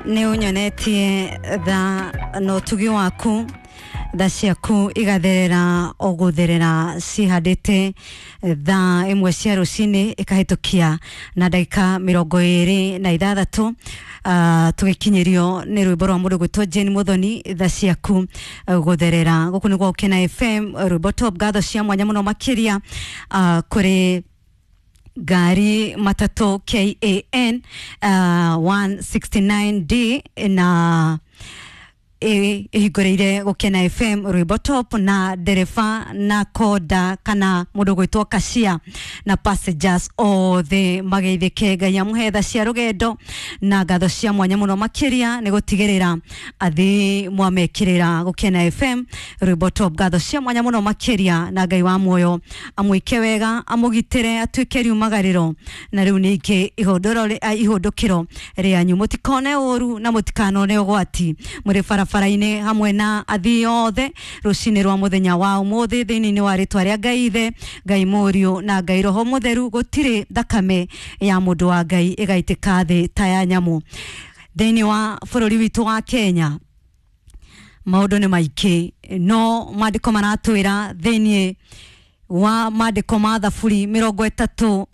Nĩ ũnyonetie tha na ũtugi waku, tha ciaku igatherera o gũtherera cihandĩte. Thaa 1 cia rũcinĩ ĩkahĩtũkia na ndagĩka 26, tũgĩkinyĩrio nĩ rwĩmbo rwa mũndũ gwĩtwo Jane Muthoni, tha ciaku gũtherera. Gũkũ nĩ gwa Gũkena FM, rwĩmbo top. Ngatho cia mwanya mũno makĩria kũrĩ ngari matatũ KAN 169D na ĩhingũrĩire Gũkena FM rwĩmbo top, na ndereba na konda kana mũndũ gwĩtwo kashia na passengers othe mageithĩke. Ngai amũhe tha cia rũgendo, na ngatho cia mwanya mũno makĩria nĩ gũtigĩrĩra athii mwamekĩrĩra Gũkena FM rwĩmbo top. Ngatho cia mwanya mũno makĩria, na Ngai wa muoyo amwĩke wega, amũgitĩre, atuĩke riumagarĩro na rĩu ningĩ ihũndũkĩro rĩanyu. Mũtikone ũru na mũtikanone ũgwati mũrĩ barabara-inĩ hamwe na athii othe rũcinĩ rwa mũthenya wa ũmũthĩ, thĩinĩ wa rĩtwa rĩa Ngai Ithe, Ngai Mũriũ na Ngai Roho Mũtheru. Gũtirĩ thakame ya mũndũ wa Ngai ĩgaitĩka thĩ ta ya nyamũ. Thĩinĩ wa bũrũri witũ wa Kenya maũndũ nĩ maingĩ, no maandĩko maratwĩra thĩinĩ wa maandĩko ma Thaburi 34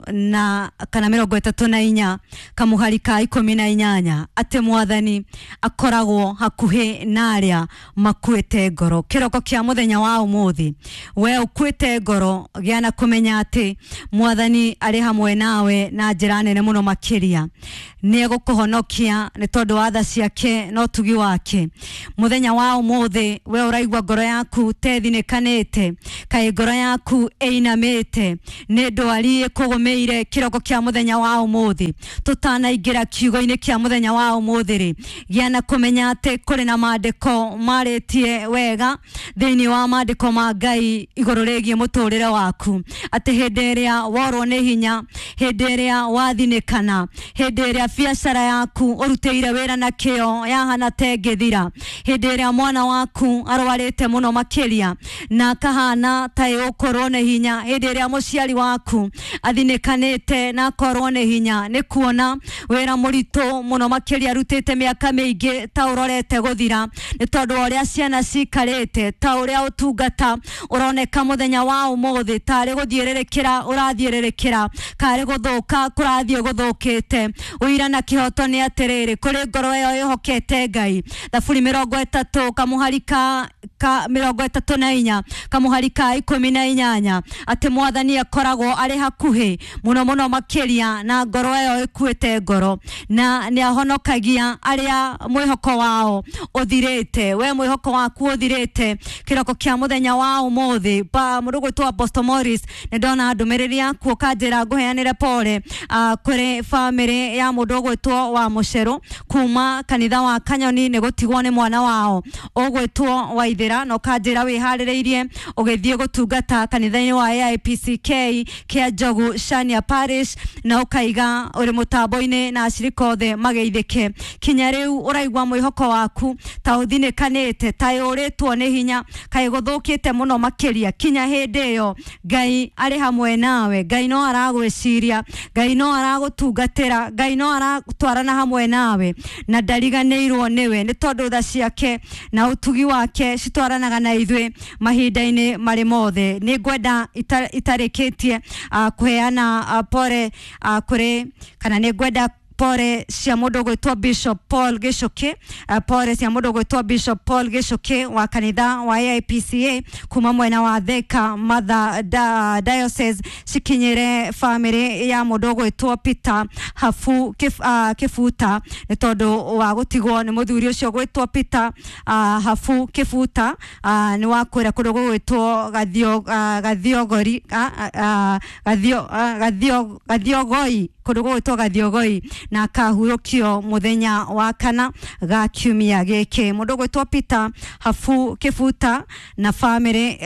kana 34 kamũhari ka 18 atĩ Mwathani akoragwo hakuhĩ na arĩa makuĩte ngoro. Kĩroko kĩa mũthenya wa ũmũthĩ, we ũkuĩte ngoro, gĩa na kũmenya atĩ Mwathani arĩ hamwe nawe na njĩra nene mũno makĩria. Nĩ egũkũhonokia nĩ tondũ wa tha ciake na ũtugi wake. Mũthenya wa ũmũthĩ, we ũraigua ngoro yaku tethinĩkanĩte, kaĩ ngoro yaku ĩinamĩte nĩ ndwari ĩkũgũmĩire, kĩroko kĩa mũthenya wa ũmũthĩ, tũtanaingĩra kiugo-inĩ kĩa mũthenya wa ũmũthĩ rĩ, gĩa na kũmenya atĩ kũrĩ na maandĩko marĩtie wega thĩinĩ wa maandĩko ma Ngai igũrũ rĩgiĩ mũtũrĩre waku, atĩ hĩndĩ ĩrĩa worwo nĩ hinya, hĩndĩ ĩrĩa wathinĩkana, hĩndĩ ĩrĩa biacara yaku ũrutĩire wĩra na kĩo yahana ta ĩngĩthira, hĩndĩ ĩrĩa mwana waku arwarĩte mũno makĩria na akahana ta ĩgũkorwo nĩ hinya, hĩndĩ ĩrĩa mũciari waku athinĩkanĩte na akorwo nĩ hinya nĩ kuona wĩra mũritũ mũno makĩria arutĩte mĩaka mĩingĩ ta ũrorete gũthira, nĩ tondũ wa ũrĩa ciana cikarĩte, ta ũrĩa ũtungata ũroneka mũthenya wa ũmũthĩ tarĩ gũthiĩrĩrĩkĩra ũrathiĩrĩrĩkĩra, karĩ gũthũka kũrathiĩ gũthũkĩte, ũira na kĩhoto nĩ atĩrĩrĩ, kũrĩ ngoro ĩyo ĩhokete Ngai. Thaburi 30 kamũhari ka 34 kamũhari ka 18 atĩ Mwathani akoragwo arĩ hakuhĩ mũno mũno makĩria na ngoro ĩyo ĩkuĩte ngoro, na nĩ ahonokagia arĩa mwĩhoko wao ũthirĩte. We mwĩhoko waku ũthirĩte, kĩroko kĩa mũthenya wa ũmũthĩ, mũndũ gwĩtwo Apostle Morris, nĩ ndona ndũmĩrĩri yaku ũkanjĩra ngũheanĩre pole kũrĩ bamĩrĩ ya mũndũ ũgwĩtwo wa Mũcerũ kuma kanitha wa Kanyoni nĩ gũtigwo nĩ mwana wao ũgwĩtwo Waithĩra, na ũkanjĩra wĩharĩrĩirie ũgĩthiĩ gũtungata kanitha-inĩ wa AIPCK kĩa Njogu Shania Parish, na ũkaiga ũrĩ mũtambo-inĩ na acirika othe mageithĩke. Kinya rĩu ũraigua mwĩhoko waku ta ũthinĩkanĩte, ta ũrĩtwo nĩ hinya, kaĩ gũthũkĩte mũno makĩria, kinya hĩndĩ ĩyo Ngai arĩ hamwe nawe. Ngai no aragwĩciria, Ngai no aragũtungatĩra, Ngai no aratwarana hamwe nawe na ndariganĩirwo nĩwe, nĩ tondũ tha ciake na ũtugi wake citwaranaga na ithuĩ mahinda-inĩ marĩ mothe. Nĩ ngwenda itarĩkĩtie kũheana pore kũrĩ kana nĩ ngwenda pore cia mũndũ ũgwĩtwo Bishop Paul Gĩcũkĩ, pore cia mũndũ ũgwĩtwo Bishop Paul Gĩcũkĩ wa kanitha wa AIPCA kuma mwena wa Thika Mother Diocese cikinyĩre bamĩrĩ ya mũndũ ũgwĩtwo Peter Hafu Kĩbuta nĩ tondũ wa gũtigwo nĩ mũthuri ũcio ũgwĩtwo Peter Hafu Kĩbuta, nĩ wa kũrĩa kũndũ gũgwĩtwo Gathiogori, Gathiogoi, kũndũ gũgwĩtwo Gathiogoi, na akahurũkio mũthenya wa kana ga kiumia gĩkĩ. Mũndũ ũgwĩtwo Peter Hafu Kĩbuta na bamĩrĩ,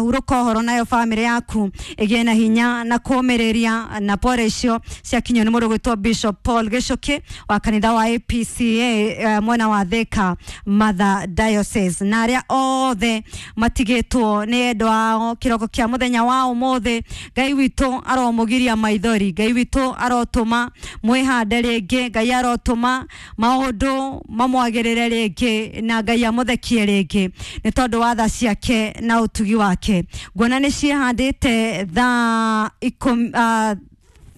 hurũka ũhoro nayo bamĩrĩ yaku ĩgĩe na hinya na kũmĩrĩria, na pore icio ciakinyio nĩ mũndũ ũgwĩtwo Bishop Paul Gĩcũkĩ wa kanitha wa APCA mwena wa Thika Mother Diocese, na arĩa othe matigĩtwo nĩ endwa ao, kĩroko kĩa mũthenya wa ũmũthĩ, Ngai witũ aromũgiria maithori, Ngai witũ. arotũma mwĩhande rĩngĩ, Ngai arotũma maũndũ mamwagĩrĩre rĩngĩ na Ngai amũthekie rĩngĩ nĩ tondũ wa tha ciake na ũtugi wake. Nguona nĩ ciĩhandĩte thaa ikũmi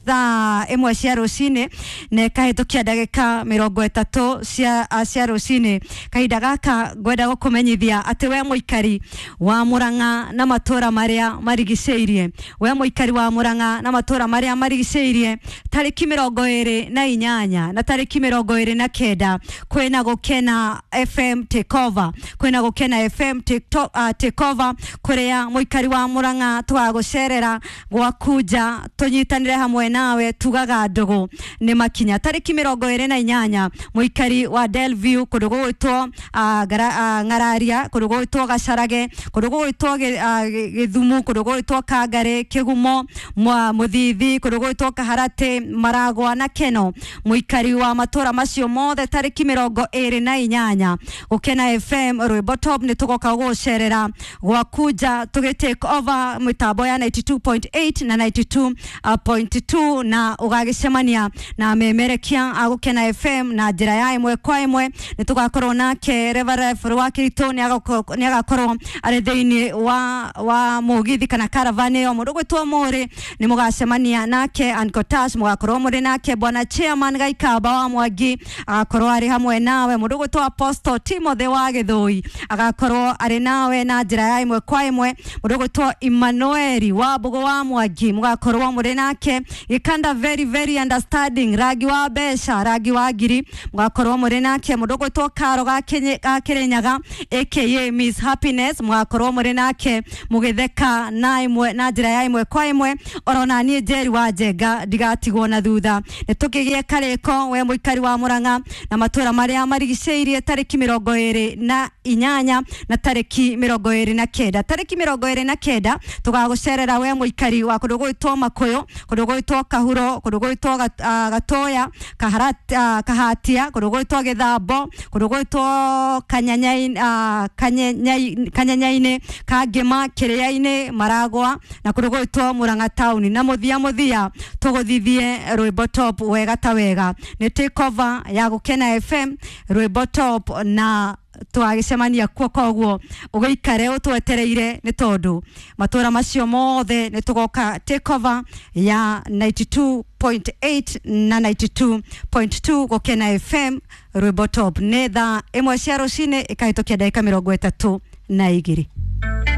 thaa ĩmwe cia rũcinĩ na ĩkahĩtũkia ndagĩka 30 cia rũcinĩ. Kahinda gaka ngwenda gũkũmenyithia atĩ we mũikari wa Murang'a na matũra marĩa marigicĩirie, we mũikari wa Murang'a na matũra marĩa marigicĩirie, tarĩki 28 na tarĩki 29 kwĩna Gũkena FM Takeover, kwĩna Gũkena FM Takeover kũrĩa mũikari wa Murang'a tũgagũcerera gwaku nja tũnyitanĩre hamwe nawe tugaga ndũgũ nĩ makinya. Tarĩki 28 mũikari wa Delview kũndũ gũgwĩtwo Ng'araria, kũndũ gũgwĩtwo Gacarage, kũndũ gũgwĩtwo Gĩthumu, kũndũ gũgwĩtwo Kangarĩ, Kĩgumo, Mũthithi, kũndũ gũgwĩtwo Kaharatĩ, Maragwa na Keno, mũikari wa matũra macio mothe tarĩki 28 Gũkena FM Rwĩmbo Top nĩ tũgoka gũgũcerera gwaku nja tũgĩ take over mĩtambo ya 92.8 na 92.2 na ũgagĩcemania na memerekia a Gũkena FM na njĩra ya ĩmwe kwa ĩmwe. Nĩ tũgakorwo nake Reverend Rwakĩritũ nĩ agakorwo arĩ thĩinĩ wa mũgithi kana caravan ĩyo. Mũndũ ũgwĩtwo Mũrĩ nĩ mũgacemania nake, Uncle Tash mũgakorwo mũrĩ nake, Bwana Chairman Gaikamba wa Mwangi agakorwo arĩ hamwe nawe, mũndũ ũgwĩtwo Apostle Timothy wa Gĩthũi agakorwo arĩ nawe na njĩra ya ĩmwe kwa ĩmwe, mũndũ ũgwĩtwo Emmanuel wa Mbũgũ wa Mwangi mũgakorwo mũrĩ nake, Gĩkanda very very understanding, rangi wa mbeca, rangi wa ngiri mũgakorwo mũrĩ nake, mũndũ ũgwĩtwo Karo ga Kĩrĩnyaga aka Miss Happiness mũgakorwo mũrĩ nake mũgĩtheka na ĩmwe na njĩra ya ĩmwe kwa ĩmwe. Orona niĩ Njeri wa Njenga ndigatigwo na thutha. Nĩ tũkĩgĩe karĩko we mũikari wa Murang'a na matũra marĩa marigicĩirie tarĩki 28 na tarĩki 29. Tarĩki 29 tũgagũcerera we mũikari wa kũndũ gũgwĩtwo Makũyũ, kũndũ gũgwĩtwo Kahuro, kũndũ gũgwĩtwo Gatoya, Kahatia, kũndũ gũgwĩtwo Gĩthambo, kũndũ gũgwĩtwo Kanyanyainĩ, Kangĩma, Kĩrĩa-inĩ, Maragwa na kũndũ gũgwĩtwo Murang'a taũni. Na mũthia mũthia tũgũthithie Rwĩmbo Top wega ta wega. Nĩ take over ya Gũkena FM Rwĩmbo Top na twagĩcemania kuo, koguo ũgĩikare ũtwetereire nĩ tondũ matũra macio mothe nĩ tũgoka take over ya 92.8 na 92.2 Gũkena FM Rwĩmbo Top. Nĩ thaa ĩmwe cia rũcinĩ ĩkahĩtũkia ndagĩka 32.